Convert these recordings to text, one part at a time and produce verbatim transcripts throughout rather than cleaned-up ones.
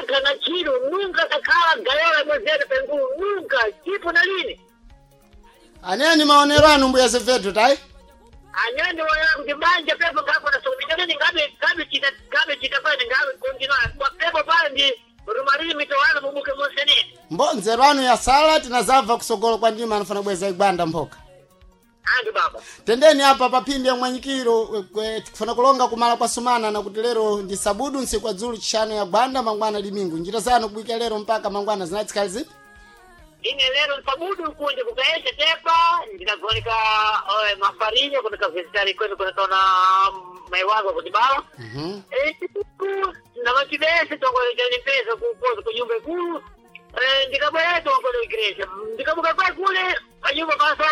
Sankana chiro nunca takhala gayola mwezere pengulu nunca chipo na lini. Aneni maonero anu mbuya Zevedo tai. Anyani waya kuti banja pepo ngapo na somi ngabe ngabe chita ngabe chita pale ngabe continua kwa pepo pale ndi rumariri mitowana mubuke monsenene. Mbo nzeru anu ya sala tinazabva kusogolo kwa ndima anafana bweza igwanda mphoka. Andu baba. Tendeni apa papindi ya mwanyikiro eh, tikufana kulonga kumala kwa sumana na kuti lero ndi sabudu nsiku kwa dzulu chishanu ya gwanda mangwana limingu njira zanu kubwika lero mpaka mangwana zinatsikali zipi? Ine lero nsabudu kunje kukaesha tepa ndikagonika eh, mafarinya kunika visitari kwenu kunikaona mai wangu kutibala. Mhm. Eh, na vachibese tongolecha mpesa kukoza kunyumba ikulu. Eh, ndikabwera tongole igreja ndikabuka kwa kule panyumba paso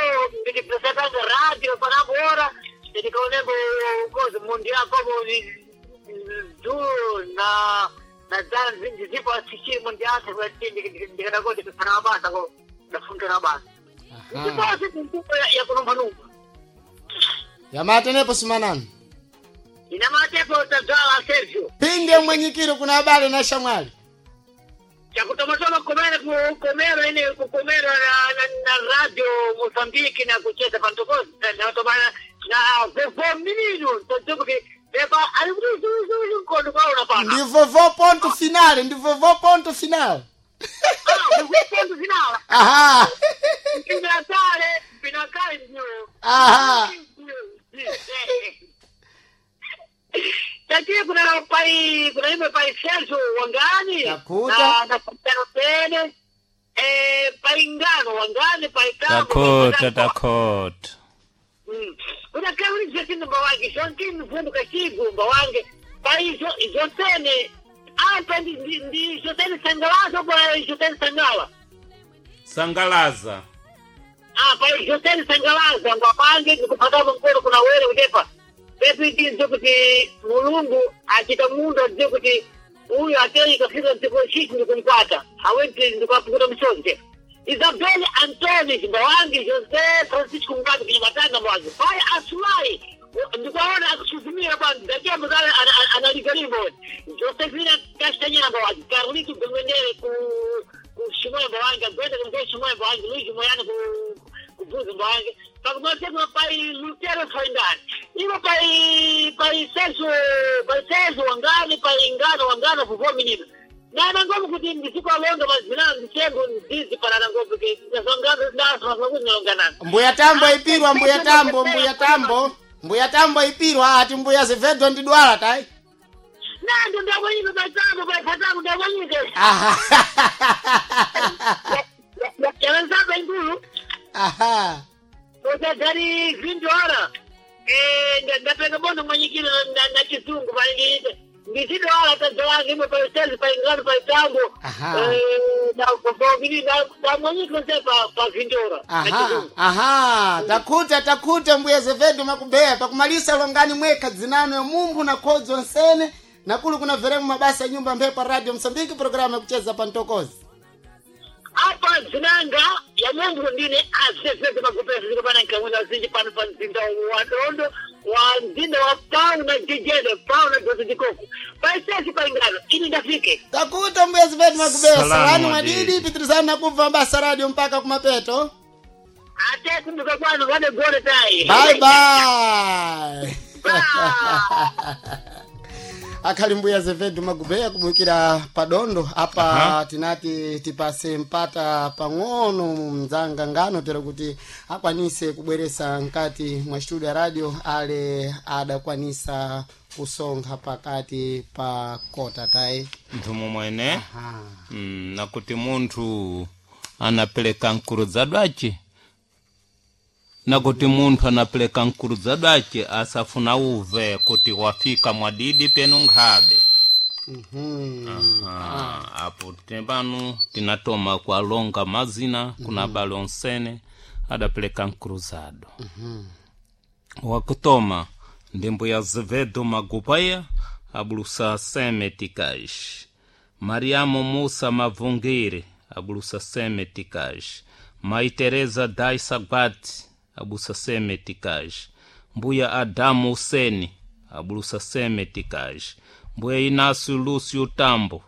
ndikipesatanga radio panabora ndikaonembo koza mundi yako du na na zanzi ndizipo asichiri mundi yako ndikadakoti kusana mabasa ko ndafunta na basa Aha. ndiposi ya kunomba numba Yamatenepo sumanani. inamatepo tadzala Sergio Pindi ya mwanyikiro kuna abale na shamwali. chakutomatoma komera kukomera ine kukomera na, na, na radio Mozambique na kucheza pantokozi na tomana na vovo minino totoke pepa alibuzuzuzu nkondo kwa unapana Ndi vovo ponto finale, ndi vovo ponto finale. ah vovo ponto finale Aha. pinakale pinakale ndio Aha. Tatiye kuna pai kuna ime pai Sergio Wangani Takuta. na na Kapitano Pene eh pai Ngano Wangani pai Tambo Dakota Dakota. Mm. Kuna kauli zeti mba wange shonki mvundu kashigu mba wange pai jo jotene apa ndi ndi, ndi jotene sangalazo kwa jotene sangala Sangalaza. ah pai jotene sangalaza mba wange nikupata mkono kuna wele kutepa pepi ndizo kuti mulungu achita mundu aziye kuti uyu atei kafika mdziko chichi ndikumkwata hawenti ndikuapukuta msonje Isabel Antoni Mbawangi José Francisco Ngabi kinyamatanga mwangi pai Asulai ndikuwaona akusuzumira pa ndatembo zale analikalimbo Josefina Kastanyera Mbawangi Carlito Gomendere ku ku Shimoya Mbawangi Agwenda kumwe Shimoya Mbawangi Luigi Moyano ku kubuza mbange pakumatema pai Lutero Faindani ivo pai pai Celso pai Celso Wangani pai Ngano Wangano vuvô menino nana ngomo kuti ndisikwalonga mazina ndichengo ndizi panana ngomo kuti ndazongano ndasomakuzinalonganana Mbuya tambo ipirwa, mbuya tambo, mbuya tambo. Mbuya tambo ipirwa ati mbuya Zevedo ndidwala tai. nando ndabwanyike patambo patambo ndabwanyike Aha. yalanzaba inkulu Aha. otagari vindora eh ndapenga bono mwanyikiro na na chizungu pali ndizidwala tadzalange imwe pa sales pa ingano pa tambo Aha. eh na kobogini na na mwanyikiro se pa pa vindora na Aha. chizungu Aha. Takuta takuta mbuya Zevedo makubeya pakumalisa longani mweka dzinano ya mumbu na kodzo nsene nakulu kuna veremu mabasa ya nyumba mphepo radio Msambiki programu ya kucheza pantokozi. apa dzinanga ya mungu ndine asesese makupesa zikapana nkamwina zinji pano pa mzinda wa dondo wa mzinda wa pau na jejede pau na dozo jikoko paisesi pa ingano ini ndafike Takuta mbuya Zevedo makubeya Salamu salani mwadidi. mwadidi pitirizani na kubva mabasa radio mpaka kumapeto. ate kumbuka kwanu vane gole tai Bye bye. Akhali mbuya Zevedu Magubeya kubukira padondo apa. Aha. Tinati tipase mpata pang'ono mdzanga ngano tero kuti akwanise kubweresa nkati mwa studio ya radio ale adakwanisa kusonkha pakati pa kota tayi. Nthumu mwene. Aha. Mm, nakuti munthu anapeleka nkurudzadwace nakuti munthu anapeleka nkurudzadwace asafuna uve kuti wafika mwadidi penu nkhabe. Mhm. Aha, apo tepano tinatoma kualonga mazina kuna abale onsene adapeleka nkruzado. Wakutoma ndi mbuya Azevedo Magupaya abulusa seme tikais Mariamo Musa Mavungire abulusa seme tikais Mai Teresa Dai Sagbati abusa seme tikais Mbuya Adamu Useni abulusa seme tikais Mbuya Inácio Lúcio Tambo